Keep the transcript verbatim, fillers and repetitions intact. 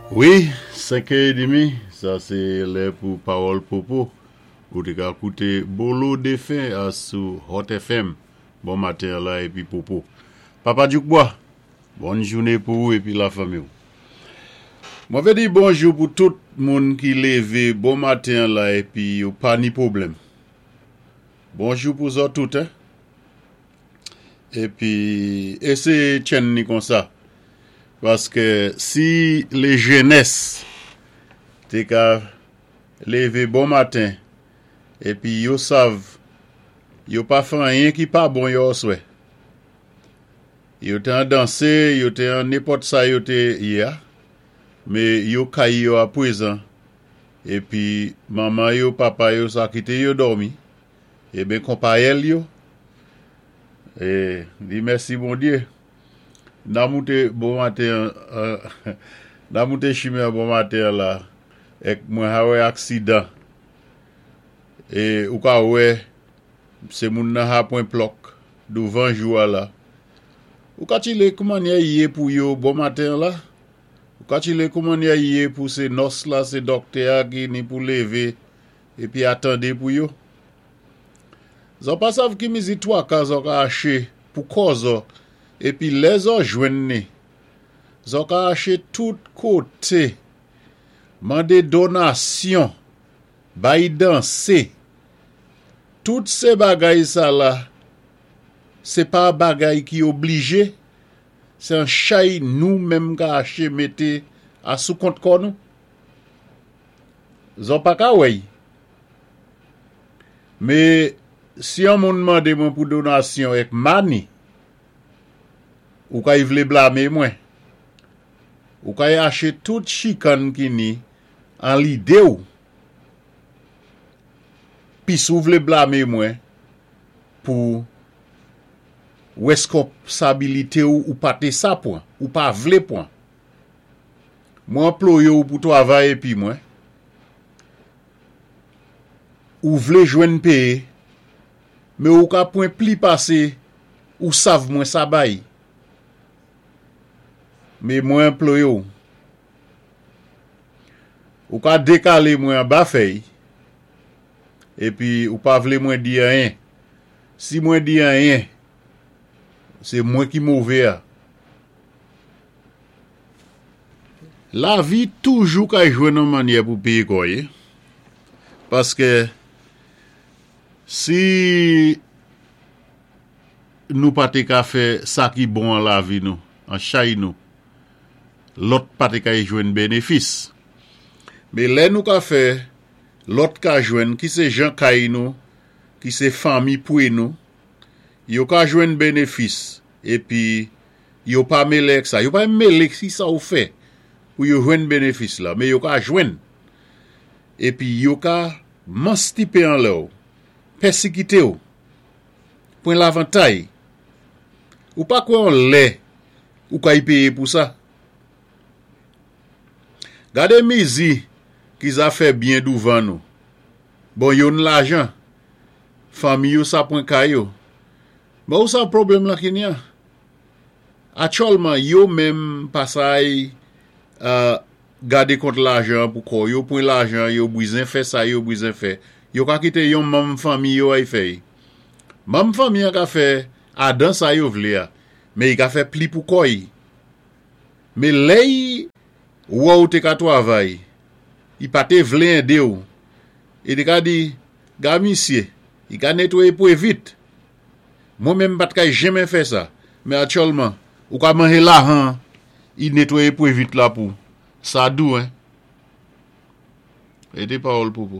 Wi, senkè édmi, sa sé lè pou Pawòl Popo. Ou té ka kouté Bolo Défen a sou Hot F M bon maten la épi Popo. Papa Djoukbois, bòn jouné pou ou épi lafanmi. Mwen vé di bonjou pou tout moun ki lévé bon maten la épi yo pa ni pwoblèm. Bonjou pou zòt tout, hein? Épi éséyé tjenn ni konsa. Paské si lé jenès té ka lévé bon maten épi yo sav yo pa fè anyen ki pa bon yè oswè. Yo té an dansé, yo té an nenpòt sa yo té yé a, mé yo kay yo apwézan épi manman yo, papa yo sa kité yo dòmi, eben konpayèl yo é di mèsi Bondyé. N'a mouté bon maten, n'a mouté chimen bon maten la, èk mwen ha wè aksidan. É ou ka wè, sé moun nan ha pwan plòk douvan jou a la. Ou ka tchilé kouman i yé pou yo bon maten la? Ou ka tchilé kouman i yé pou sé nòs la, sé dòktè a ki ni pou lévé épi atandé pou yo? Zò pa sav ki mizi twaka zò ka aché pou kò zò épi lè zò jwenn ni. Zò ka aché tout koté. Mandé donasyon, bay dansé. Tout sé bagay sa la, sé pa bagay ki oblijé, sé an chay nou menm ka aché mété a sou kont kò nou. Zò pa ka wèy. Mé si an moun mandé mwen pou donasyon èk mani, ou kay vlé blamé mwen. Ou kay aché tout chikann ki ni an lidé ou. Pi si ou vlé blamé mwen pou weskonsabilité ou ou pa té sa pwan, ou pa vlé pwan. Mwen anployé ou pou twavay épi mwen. Ou vlé jwenn péyé, mé ou ka pwan pli pasé ou sav mwen sa bay. Mé mwen anployé ou. Ou ka dékalé mwen anba fèy, épi ou pa vlé mwen di anyen. Si mwen di anyen, sé mwen ki mové a. Lavi toujou ka jwenn an mannyè pou péyé kò yé. Paské si nou pa té ka fè sa ki bon an lavi nou, an chay nou, lòt pa té ka jwenn bénéfis. Mé lè nou ka fè, lòt ka jwenn, ki sé jan kay nou, ki sé fanmi pwé nou, yo ka jwenn bénéfis, épi yo pa mélé ak sa. Yo pa mélé si sa ou fè pou yo jwenn bénéfis la, mé yo ka jwenn. Épi yo ka manstipé anlè ou, pèsikité ou, pwan lavantay. Ou pa kwè an lè ou kay péyé pou sa. Gadé mizi ki za fè byen douvan nou. Bon yo ni lajan, fanmi yo sa pwan kay yo. Bon ou sa pwoblèm la kinnya? Aktyèlman yo menm pasay uh, gadé kont lajan pou kò yo, pwan lajan yo bwizen fè sa yo bwizen fè. Yo ka kité yon manm fanmi yo ay fè. Manm fanmi an ka fè adan sa yo vlé a, mé i ka fè pli pou kò i. Mé lè i wè ou té ka twavay, i pa té vlé édé ou. I té ka di, ga misyé, i ka netwayé pwé vit. Mwen menm pat kay jenmen fè sa. Mé aktyèlman, ou ka manjé lajan, i netwayé pwé vit la pou. Sa dou, hein? É té Pawòl Popo.